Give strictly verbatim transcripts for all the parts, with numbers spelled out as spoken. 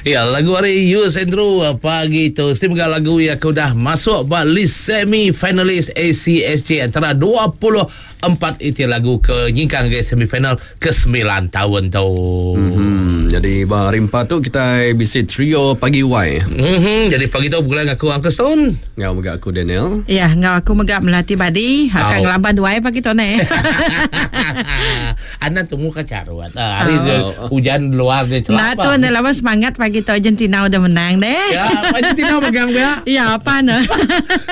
Ya, lagu hari Yus Andrew pagi tu. Mesti mega lagu yang aku dah masuk ba list semi finalis A C S J antara dua puluh empat itu lagu ke nyingkang ke semifinal ke sembilan tahun tu. Mm-hmm. Jadi ba hari empat tu kita bisi trio pagi Y. Mm-hmm. Jadi pagi tu bulan aku Uncle Stone. Ngau mega aku Daniel. Ya, ngau aku mega Melati Badi. Akan ngelaban dua pagi tu ni. Anak tu muka carut. Hari oh. Hujan luar dia celapa. Nah tu anda lawan semangat pagi tu Argentina udah menang deh. Ya, Argentina megang dia. Ya, apa nah?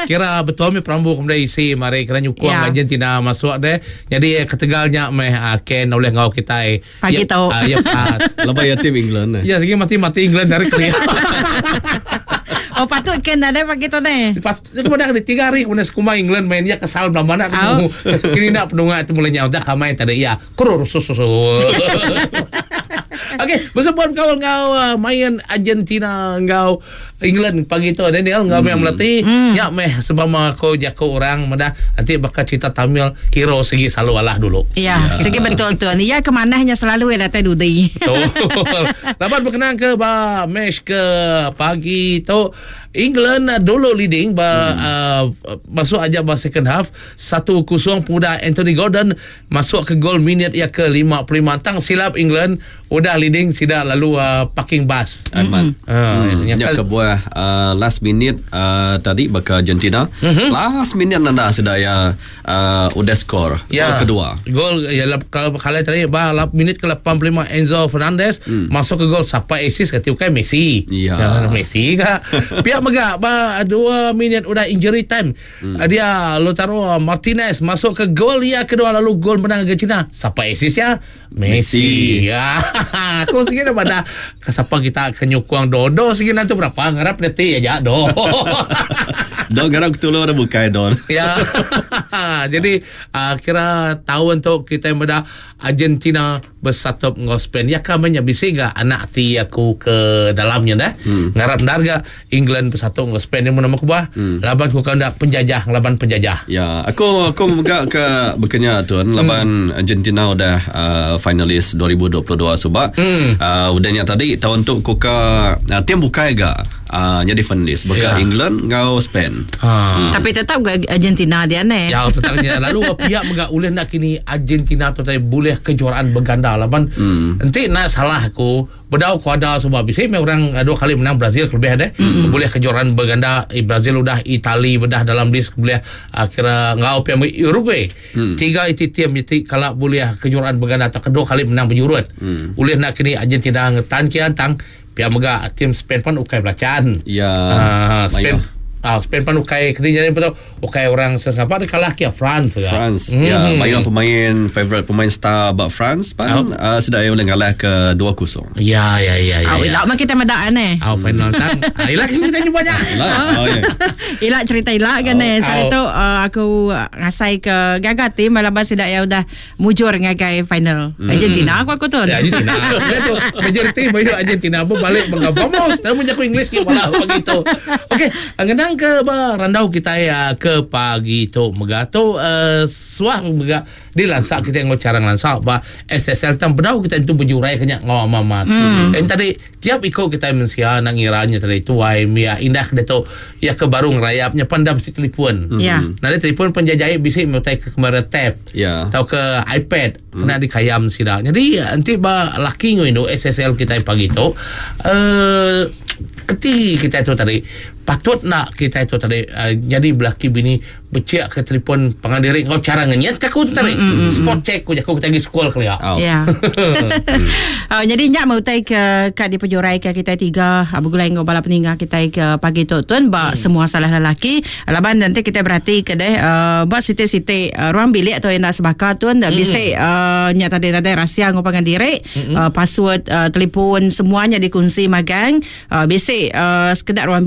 Kira betul mi perambu kemudian isi mari kena nyukung ya. Argentina masuk deh. Jadi ketegalnya meh Ken oleh ngau kita pagi tu. Ya, pas. Lebay ya tim England. Ya, segi mati-mati England dari Korea. Oh patut Ken ada pagi tu deh. Patut kemudian ada tiga hari kemudian sekuma England mainnya kesal belah mana tu. Kini nak penungak itu mulai nyawa dah kamai tadi ya. Kurur susu. Okey, bersebut kau ngau main Argentina ngau England pagi tu Daniel ngau hmm. melatih mm. ya meh sebab aku jago orang medah nanti bakal cerita Tamil hero segi selalu alah dulu. Ya, ya. Segi betul tu. Ni ya kemanahnya selalu ya datai dudi. Betul. Dapat berkenaan ke ba match ke pagi tu England dulu leading ba hmm. uh, masuk aja ba second half satu kosong pemuda Anthony Gordon masuk ke gol minit ya ke lima puluh lima tang silap England udah leading sida lalu uh, parking bus. Mm-hmm. Uh, hmm. Yang kebuah uh, last minute uh, tadi baka Argentina mm-hmm. last minute nanda sudah ya uh, udah skor ya. Gol kedua. Gol ya kalau kalau tadi ba minit ke lapan puluh lima Enzo Fernandez mm. masuk ke gol siapa assist kata bukan Messi. Ya. Ya Messi ka. Pihak mega ba dua minit udah injury time. Mm. Dia Lautaro Martinez masuk ke gol ya kedua lalu gol menang Argentina. Siapa assist ya? Messi. Messi. Ya. Aku segini pada siapa kita kenyukuang dodo segini nanti berapa ngarap nanti aja do. Do ngarap ketulung ada bukai don. Ya. Jadi uh, kira tahun tu kita yang Argentina bersatu dengan Spain. Ya kamenya bisa gak anak ti aku ke dalamnya dah. Hmm. Ngarap darga England bersatu dengan Spain yang nama aku bah. Hmm. Laban ku kau ndak penjajah laban penjajah. Ya, aku aku mega ke bekenya tuan laban hmm. Argentina udah uh, finalis dua ribu dua puluh dua subak. Hmm. Uh, udahnya tadi tahun tu ku ke uh, tim bukai ga uh, jadi finalis beka ya. England ngau Spain. Ha. Hmm. Tapi tetap Argentina dia ne. Ya tetapnya. Lalu pihak mega ulih nak kini Argentina tu tadi boleh kejuaraan berganda laban. Hmm. Enti nak salah aku bedau ku ada sebab bisa orang dua kali menang Brazil lebih ada. Mm-hmm. Boleh kejuaraan berganda Brazil udah Itali bedah dalam list boleh uh, kira ngau pihak Uruguay. Mm. Tiga itu tim itu kalau boleh kejuaraan berganda atau kedua kali menang berjurut. Mm. Boleh nak kini Argentina ngetan kian tang pihak mega tim Spain pun ukai belacan. Ya. Uh, Spain Ah, Spain pun ukai kini jadi betul ukai orang sesapa dia kalah ke France ya. France. Mm. Ya, banyak pemain favorite pemain star bak France pan oh. uh, sudah boleh ngalah ke dua kosong. Ya ya ya ya. Ah, ilak mah kita medaan eh. Ah, final tang. Ah, ilak kita jumpa banyak. Ilak. Oh, ya. Ilak cerita ilak kan eh. Saya tu uh, aku ngasai ke gagal tim malaban sudah ya udah mujur ngagai final. Mm. Argentina aku aku tu. Ya Argentina. Saya tu majoriti banyak Argentina pun balik bangga vamos. Dalam aku English ke malah begitu. Okey, ngenang ke ba randau kita ya ke pagi tu mega tu uh, suah mega di lansak kita ngau cara lansak ba S S L tam bedau kita itu berjurai kenyak ngau mamat. Hmm. Dan tadi tiap ikut kita mensia nak ngiranya tadi tuai mia indah dia tu ya ke baru ngerayapnya pandam si telefon. Hmm. Ya. Nanti telefon penjajai bisik mutai ke kemara tab. Ya. Atau ke iPad hmm. kena dikayam sida. Jadi nanti ba laki ngau indo S S L kita pagi tu uh, keti kita tu tadi patut nak kita itu tadi uh, jadi belaki bini becek ke telefon pangandiri kau cara ngenyet ke aku tadi mm, mm, spot check ku aku kita pergi sekolah kali ya. Oh. Ya. Oh, jadi nyak mau tai ke kat di pejurai ke kita tiga begulai ngau bala peninggal kita ke pagi tu tuan ba mm. semua salah lelaki laban nanti kita berhati ke deh uh, ba siti-siti uh, ruang bilik atau yang nak sebaka tuan mm. bisa uh, nyak tadi tadi rahsia ngau pangandiri mm-hmm. uh, password uh, telefon semuanya dikunci magang uh, bisa uh, sekedar ruang bilik